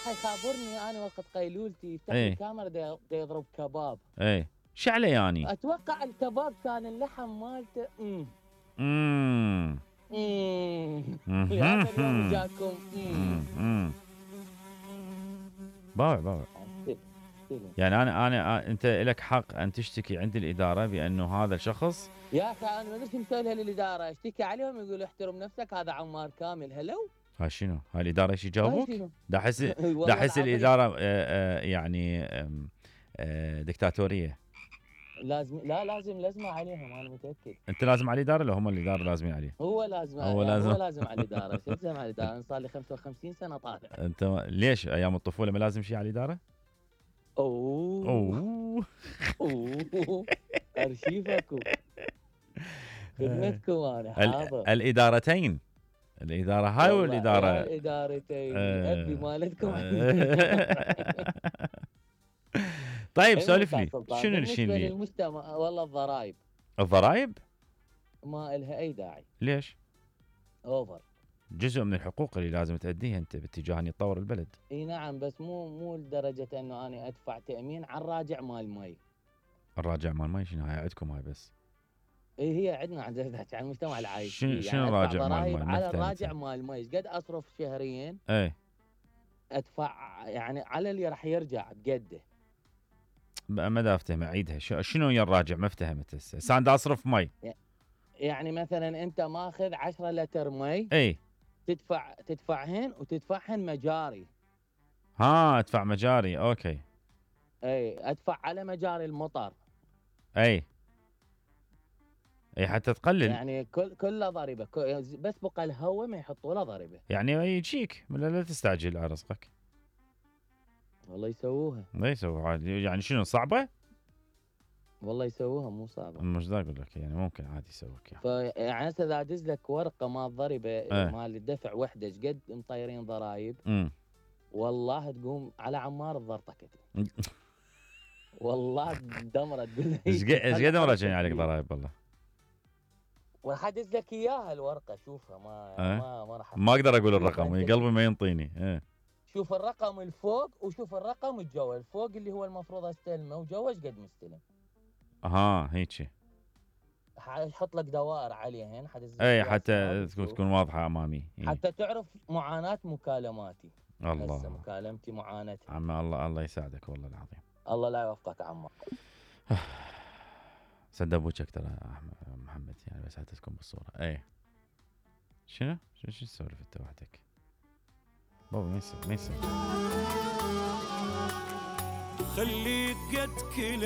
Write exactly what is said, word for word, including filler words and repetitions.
راح يخابرني انا وقت قيلولتي يفتح لي ايه الكاميرا دا يضرب كباب. ايه شعله يعني؟ اتوقع الكباب كان اللحم مالته امم امم امم لهذا اليوم جاكم امم باوع باوع. يعني انا انا انت لك حق ان تشتكي عند الاداره بانه هذا الشخص. يا اخي انا ما ادري مسوي لها للاداره، اشتكي عليهم يقولوا احترم نفسك هذا عمار كامل. هلو ها شنو؟ هاي الاداره ايش يجاوبوك؟ دا احس دا احس الاداره آآ يعني آآ دكتاتوريه. لازم لا لازم لازمه عليهم انا متاكد. انت لازم على الاداره ولا هم الاداره لازمين عليه؟ هو لازم هو لازم هو لازم على الاداره. شو لازم على الاداره؟ انا صار لي خمسة وخمسين سنه طالع. انت ليش ايام الطفوله ما لازم شيء على الاداره؟ اوه اوه اوه ارشيفكم خدمتكم انا حاضر. الادارتين، الاداره هاي والاداره الادارتين ابي مالتكم. طيب سولف لي شنو الشيء اللي المجتمع؟ والله الضرائب الضرائب ما إلها اي داعي. ليش؟ اوفر. جزء من الحقوق اللي لازم تأديها انت باتجاه ان يتطور البلد. اي نعم بس مو مو لدرجه انه انا ادفع تامين على الراجع مال المي. الراجع مال المي شنو هاي عندكم هاي بس؟ اي هي عندنا عندنا عن المجتمع العايش. شنو شنو يعني الراجع مال المي؟ على الراجع مال المي ايش قد اصرف شهريا؟ اي ادفع يعني على اللي راح يرجع بقده. ما دا افتهم اعيدها. شنو يا الراجع؟ ما افتهمت هسه. هسه انا اصرف مي يعني مثلا انت ماخذ عشرة لتر مي اي تدفع تدفعهن وتدفعهن مجاري. ها ادفع مجاري اوكي. اي ادفع على مجاري المطر. اي اي حتى تقلل يعني كل كله ضريبه بس بقى الهواء ما يحطوا له ضريبه. يعني يجيك لا تستعجل على رزقك. والله يسووها. ما يسووها عادي. يعني شنو صعبه؟ والله يسووها مو صعبه. مش دا اقول لك يعني ممكن عادي يسووك يعني. فيعني هسه اذا ادز لك ورقه مال ضريبه اه. مال الدفع وحده ايش قد مطيرين ضرايب. امم والله تقوم على عمار الضرطكه. والله دمره تقول ايش قد مراجعين عليك ضرايب والله. وراح ادز لك اياها الورقه شوفها ما اه. ما ما راح ما اقدر اقول الرقم قلبي ما ينطيني. اه. شوف الرقم الفوق وشوف الرقم الجوا. الفوق اللي هو المفروض استلمه وجوا ايش قد مستلم. اها هيك حط لك دوائر عليهن حدز. اي حتى تكون واضحه امامي. حتى تعرف معاناه مكالماتي. الله هسه مكالمتي معاناتي. عم الله الله يساعدك والله العظيم. الله لا يوفقك عمار. صدق ابوك اكثر محمد يعني بس حتى تكون بالصوره. اي شنو؟ شو شو تسولف انت وحدك؟ بابا ما يصير ما يصير. خليك قد كل